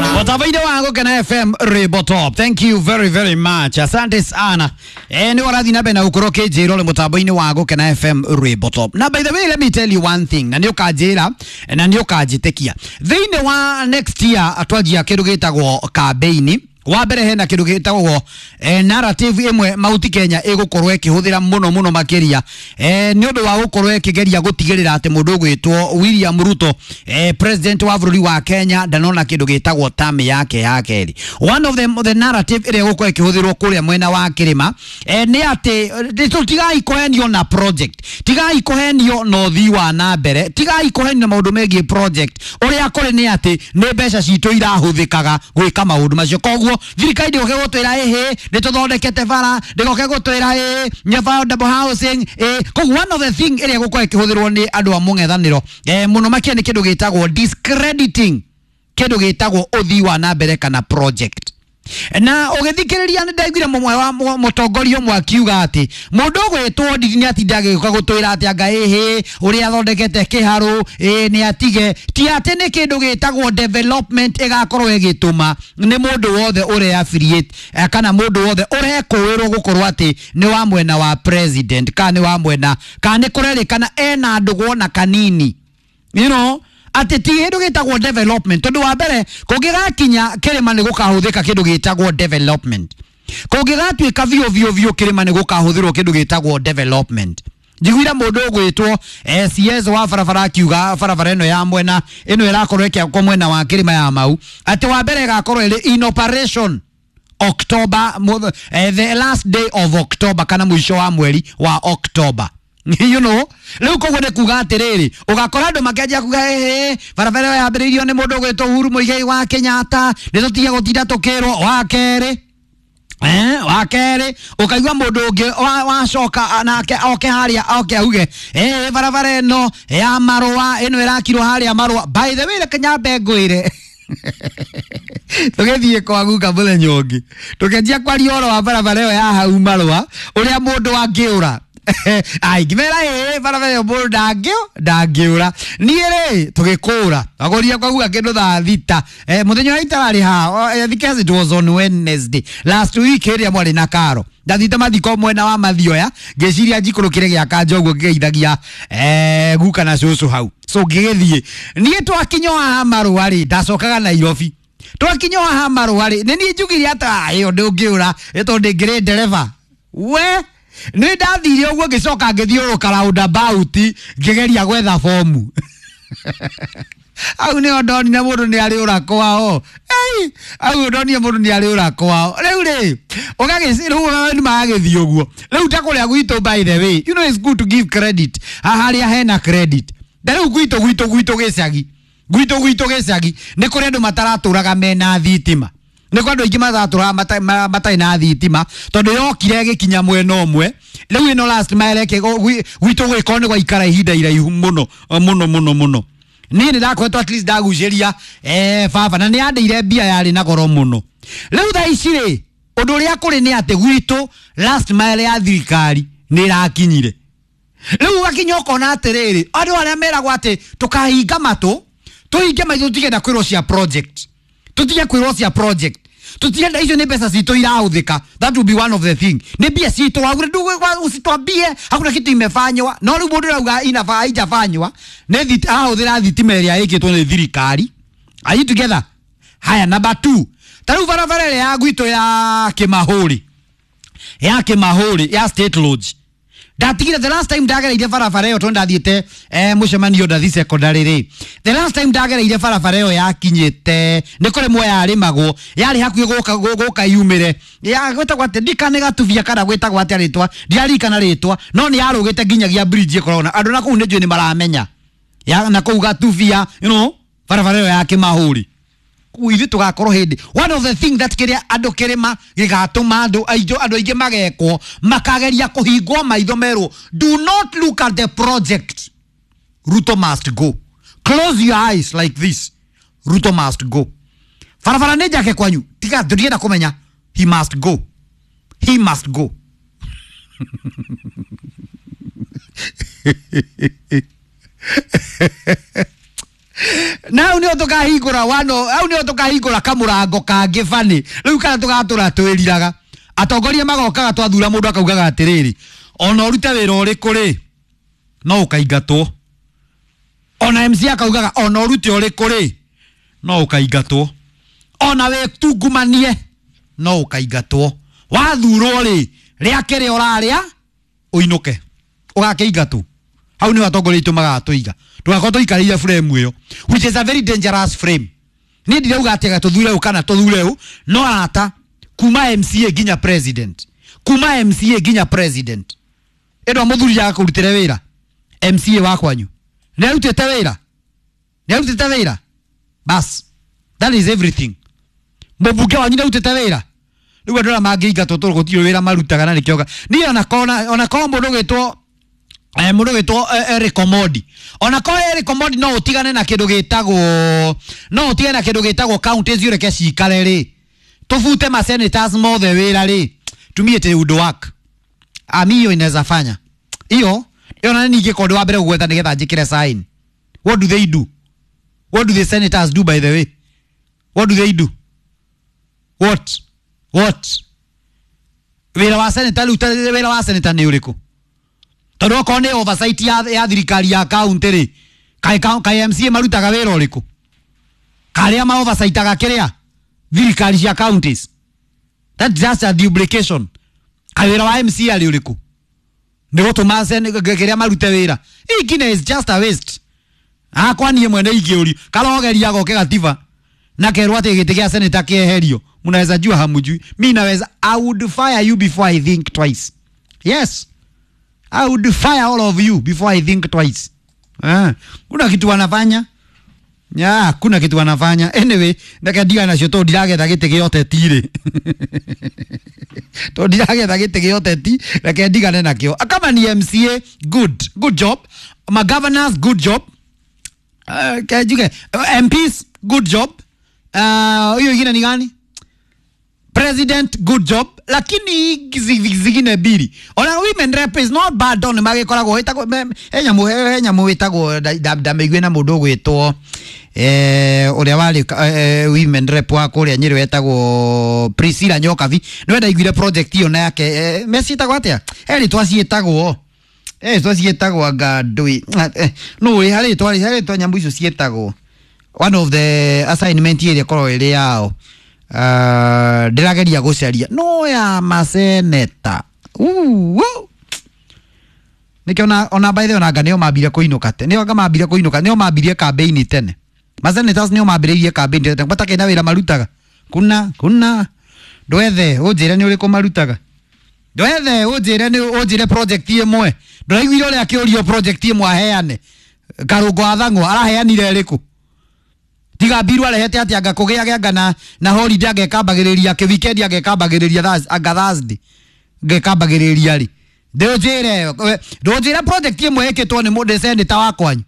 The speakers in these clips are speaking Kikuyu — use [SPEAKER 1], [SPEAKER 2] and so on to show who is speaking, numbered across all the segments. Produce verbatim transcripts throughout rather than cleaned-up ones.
[SPEAKER 1] Watabaida wangu kana F M Rebo Top. Thank you very very much. Asante sana. Eh, ni warathi na bena ukoro kejero le mutabaini wangu kana F M Rebo Top. Na by the way, let me tell you one thing. Na ni ukajira na ni ukajitekia. Thĩinĩ wa next year atwajia kindu gitagwo campaign. Wa mbere hena kindu gitagwo eh, narrative imwe Mauti Kenya igukorwo ikihuthira muno muno makiria eh, ni undu wa gukorwo ikigeria gutigirira ati mundu ugwitwo William Ruto eh, president wa bururi wa Kenya ndanona kindu gitagwo term yake ya keri. One of them the narrative ire gukorwo ikihuthirwo kuria mwena wa kirima eh, ni ati tigai kuhenio na project, tigai kuhenio na uthii wa na mbere, tigai kuhenio na maundu megie project. Uria kuri ni ati ni mbeca citu irahuthikaga gwika maundu macio. Koguo thirikari ndĩgoke gũtwĩra ĩhĩ nĩ tũthondekete bara, ndĩgoke gũtwĩra ĩĩ nĩ affordable housing ĩ. Koguo one of the thing ĩrĩa ĩgũkorwo ĩkĩhũthĩrwo nĩ andũ a mũng'ethanĩro eh, mũno makĩria nĩ kĩndũ gĩtagwo discrediting kĩndũ gĩtagwo ũthii wa na mbere kana project. Na ũgĩthikĩrĩria nĩ ndaiguire mũmwe wa mũtongoria ũmwe akiuga atĩ mũndũ ũgwĩtwo Ndindi nĩ atinda agĩũka gũtwĩra atĩ anga ĩhĩ ũrĩa athondekete kĩharũ ĩ nĩ atige, ti atĩ nĩ kĩndũ gĩtagwo development ĩgakorwo ĩgĩtũma nĩ mũndũ wothe ũrĩa affiliate kana mũndũ wothe ũrekũĩrwo gũkorwo atĩ nĩ wa mwena wa president kana nĩ wa mwena kana nĩ kũrerĩkana ena ndũgũ ona kanini, you know, ati ti kindu gitagwo development. Tondu wa mbere kungigakinya kirima ni gukahuthika kindu gitagwo development, kungigatuika vio vio vio kirima ni gukahuthirwo kindu gitagwo development. Njiguire mundu ugwitwo S S wa barabara akiuga barabara ino ya mwena ino irakorwo ikiakwo mwena wa kirima ya Mau ati wa mbere igakorwo iri in operation October, eh, the last day of October kana mwisho wa mweri wa October. You know, rĩu koguo nĩ kuga atĩrĩrĩ ũgakora andũ makĩanjia kuga ĩhĩ barabara ĩyo yambĩrĩirio nĩ mũndũ ũgwĩtwo Uhuru Muigai wa Kenyatta, nĩ tũtige gũtinda tũkĩrwo wa kerĩ eh, wa kerĩ ũkaigua mũndũ ũngĩ wacoka nake oke harĩa oke auge eh, barabara ĩno ya Marũa ĩno ĩrakirwo harĩa Marũa. By the way, reke nyambe ngwĩre tũgĩthiĩ kwa guka mũthenya ũngĩ tũkĩanjia kwaria ũhoro wa barabara ĩyo ya hau Marũa ũrĩa mũndũ angĩũra ai ngimera ĩ barabara ĩyo mũndũ ndangĩũ ndangĩũra. Niĩ rĩ tũgĩkũra agũria kwa guka kĩndũ thaa thita eh, mũthenya ũrĩa itararĩ haha, I think it was on Wednesday last week ĩrĩa mwarĩ na karo ndathite mathiko mwena wa Mathioya ngĩciria njikũrũkĩre gĩa kanja ũguo ngĩgeithagia eh, guka na cũcũ hau. So ngĩgĩthiĩ niĩ twakinya haha Marũa rĩ ndacokaga Nairobi, twakinya haha Marũa rĩ nĩ niĩ njugire atĩ ĩyo ndũngĩũra tondũ ndĩngĩrĩ ndereba we nĩ ndathire ũguo ngĩcoka ngĩthiũrũrũka roundabout ngĩgeria gwetha bomu. Au nĩho ndonire mũndũ nĩ arĩ ũra kwao. Ei, au ndonire mũndũ nĩ arĩ ũra kwao. Rĩu rĩ ũgagĩci rĩu nĩ magagĩthiĩ ũguo. Rĩu ta kũrĩa gwitũ, by the way, you know it's good to give credit harĩa hena credit. Na rĩu gwitũ gwitũ gwitũ gĩcagi gwitũ gwitũ gĩcagi nĩ kũrĩ andũ mataratũraga mena thitima, nĩ kwa andũ aingĩ maratũraga matarĩ na thitima tondũ yokire ĩgĩkinya mwena ũmwe. Rĩu ĩno last mile ĩke gwitũ gwĩkorwo nĩ gwaikara ihinda iraihu mũno mũno mũno mũno. Niĩ nĩ ndakoretwo at least ndagucĩria eh, baba na nĩ andĩire mbia yarĩ na goro mũno. Rĩu thaa ici rĩ ũndũ ũrĩa kũrĩ nĩ atĩ gwitũ last mile ya thirikari nĩ ĩrakinyire. Rĩu ũgakinya ũkona atĩrĩrĩ andũ arĩa meragwo atĩ tũkahinga matũ tũhinge maitho tũtigenda kwĩrwo cia project, tũtige kwĩrwo cia project, tũtirenda icio nĩ mbeca citũ irahũthĩka. That will be one of the thing, nĩ mbia citũ usitwambie hakuna kitu imefanywa. No rĩu mũndũ arauga inafaa haijafanywa nĩ ahũthĩra thitima ĩrĩa ĩkĩtwo nĩ thirikari. Are you together? Haya, number two, ta rĩu barabara ĩrĩa ya gwitũ ya Kĩmahũri ya Kĩmahũri ya State Lodge ndatigire the last time ndagereire barabara ĩyo tondũ ndathiĩte eh, mũcemanio ndathi secondary rĩ, the last time ndagereire barabara ĩyo yakinyĩte nĩ kũrĩmwo yarĩmagwo yarĩ hakuhĩ gũka gũka yumĩre ya gwĩtagwo atĩ ndikane gatubia kana gwĩtagwo atĩa rĩtwa ndiaririkana rĩtwa no nĩ yarũgĩte nginyagia bridge ĩkoragwo na andũ na kũu nĩ njũĩ nĩ maramenya ya na kũu gatubia, you know, barabara ĩyo ya Kĩmahũri. Ithuĩ tũgakorwo hĩndĩ one of the thing that kĩrĩa andũ kĩrĩma gĩgatũma andũ aingĩ andũ aingĩ magekwo makageria kũhingwo maitho merwo do not look at the project, Ruto must go. Close your eyes like this, Ruto must go. Barabara nĩ njake kwanyu tiga ndũngĩenda kũmenya, he must go, he must go. Na hau nĩho tũkahingũra wano, hau nĩho tũkahingũra kamũrango kangĩ bani. Rĩu kana tũgatũra twĩriraga. Atongoria magokaga twathura mũndũ akaugaga atĩrĩrĩ, ona ũrute wĩra ũrĩkũ rĩ, no ũkaingatwo. Ona M C akaugaga ona ũrute ũrĩkũ rĩ, no ũkaingatwo. Ona wĩtungumanie, no ũkaingatwo. Wathurwo rĩ, rĩa kĩrĩa ũrarĩa, ũinũke. Ũgakĩingatwo. Hau nĩho atongoria aitũ magatũiga. Tũgakorwo tũikarĩire frame ĩyo, which is a very dangerous frame. Niĩ ndirauga atĩ tũthure ũũ kana tũthure ũũ, no arata kuma M C A nginya president, kuma M C A nginya president. Ĩno mũthuri agakũrutĩre wĩra M C A wa kwanyu. Nĩ arutĩte wĩra? Nĩ arutĩte wĩra? Bas, that is everything. Mũmbunge wanyu nĩ arutĩte wĩra? Rĩu andũ arĩa mangĩingatwo tondũ gũtirĩ wĩra marutaga na nĩkĩo ga-, niĩ ona kona, ona korwo mũndũ ũgwĩtwo, eh, mũndũ ũgwĩtwo, eh, Eric Omondi. Ona korwo Eric Omondi no ũtigane na kĩndũ gĩtagwo, no ũtigane na kĩndũ gĩtagwo counties ũreke cikare rĩ. Tũbute ma senators mothe wĩra rĩ. Tumie te would work. Ami hiyo inaweza fanya. Hiyo, hiyo na nini ingĩkorwo ndĩ wa mbere gũgwetha nĩgetha njĩkĩre sign. What do they do? What do the senators do, by the way? What do they do? What? What? Wĩra wa senator rĩu, wĩra wa senator nĩ ũrĩkũ? Tondũ okorwo nĩ oversight ya, ya thirikari ya county rĩ, kaĩ ka-, kaĩ M C A marutaga wĩra ũrĩkũ? Karĩa ma oversightaga kĩrĩa? Thirikari cia counties. That's just a duplication. Kaĩ wĩra wa M C A arĩ ũrĩkũ? Nĩ gũtũma sen-, kĩrĩa marute wĩra. Hii is just a waste. Hakwa niĩ mwene ingĩũrio, karogeria goke gatiba na kerwo atĩ gĩtĩ gĩa senator kĩeherio. Mnaweza jua hamujui. Mi naweza, I would fire you before I think twice. Yes. I would fire all of you before I think twice. Ah, kuna kitu wanafanya? Ya, kuna kitu wanafanya. Anyway, ndeke ndiga nacio tondũ ndiragetha gĩtĩ gĩa ũteti rĩ. Tondũ ndiragetha gĩtĩ gĩa ũteti, reke ndigane nakĩo. Kama ni M C A, good. Good job. Ma governors, good job. Uh, ke njuge, M Ps, good job. Uh, hiyo ingine ni gani? President, good job. Lakini zi-, zingine mbili. Ona women rep is not bad on magikoragwo ĩtagwo, me-, he nyamũ, he nyamũ ĩtagwo, nda-, nda-, ndamĩigue na mũndũ ũgwĩtwo, eh, ũrĩa warĩ, eh, women rep wa kũrĩa Nyĩrĩ wetagwo Priscilla Nyokabi. Nĩwe ndaiguire project ĩyo na yake, eh, meciĩtagwo atĩa? He rĩtwa ciĩtagwo. Eh, rĩtwa ciĩtagwo anga ndũĩ. Eh, no, harĩ rĩtwa, harĩ rĩtwa nyamũ icio ciĩtagwo. One of the assignment ĩrĩa ĩkoragwo ĩrĩ yao. Uh, ndĩrageria gũcaria no ya maseneta. Uu, nĩkĩo ona, ona by the way, ona anga nĩo mambire kũinũka tene. Nĩo anga mambire kũinũka, nĩo mambirie campaign tene. Masenators nĩo mambĩrĩirie campaign tene. Matakĩrĩ na wĩra marutaga. Kuna, kuna. Ndwethe, ũnjĩre nĩ ũrĩkũ marutaga. Ndwethe, ũnjĩre nĩ, ũnjĩre project ĩmwe. Ndũraiguire ũrĩa akĩũrio project ĩmwe aheane. Karũngo wa Thang'wa araheanire ĩrĩkũ? Tiga mbiru arehete atĩ anga kũgĩa anga na, na holiday angekambagĩrĩria kĩ weekend angekambagĩrĩria Thurs-, anga Thursday angekambagĩrĩria rĩ. Ndũnjĩre, ndũnjĩre project ĩmwe ĩkĩtwo nĩ mũndũ senator wa kwanyu.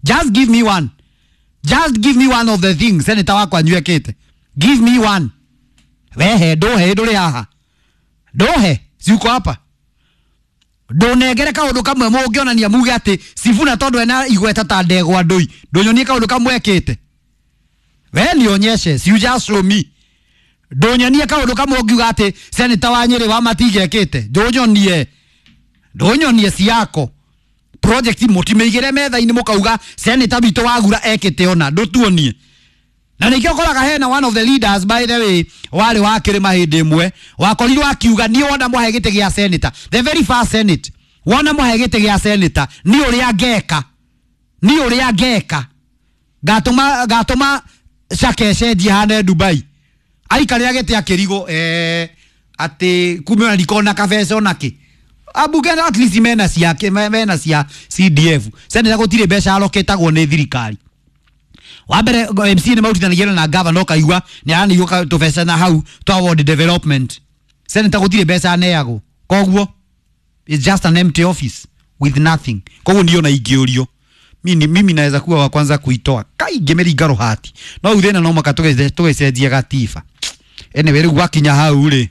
[SPEAKER 1] Just give me one. Just give me one of the things senator wa kwanyu ekĩte. Give me one. Wehe, ndũhe, ndũrĩ haha. Ndũhe, si uko hapa. Ndũnengere kaũndũ kamwe mũngĩonania muge atĩ Sifuna tondũ ena igweta ta ndegwa ndũi. Ndũnyonie kaũndũ kamwe ekĩte. We nionyeshe, si you just show me. Ndũnyonie kaũndũ kamwe ũngiuga atĩ senator wa Nyĩrĩ wa Matinga ekĩte. Ndũnyonie. Ndũnyonie ciako. Project mũtimĩigĩre metha-inĩ mũkauga senator witũ wa Gura ekĩte ona, ndũtuonie. Na nĩkĩo ũkoraga hena one of the leaders, by the way, warĩ wa kĩrĩma hĩndĩ ĩmwe, wakorirwo akiuga niĩ wona mwahe gĩtĩ gĩa senator, the very first senate, wona mwahe gĩtĩ gĩa senator, niĩ ũrĩa ngeka. Niĩ ũrĩa ngeka. Ngatũma, ngatũma Shake cenjie hane Dubai. Aikarĩra gĩtĩ akĩrigwo, eh, atĩ kumbe ona ndikona kabeca ona kĩ. Ambunge at least mena ciake, me-, mena cia C D F. Senator gũtirĩ mbeca aroketagwo nĩ thirikari. Wa mbere, M C nĩ marutithanagia na governor ũkaigua nĩ aranĩirwo ka-, tũbeca na hau twa ward development. Senator gũtirĩ mbeca aneagwo. Koguo it's just an empty office with nothing. Koguo niĩ ona ingĩũrio, mimi, mimi naweza kuwa wa kwanza kuitoa. Kai ngĩmĩringa rũhati. No thĩna no mũhaka tũgĩce-, tũgĩcenjie gatiba. Anyway, rĩu gwakinya hau rĩ,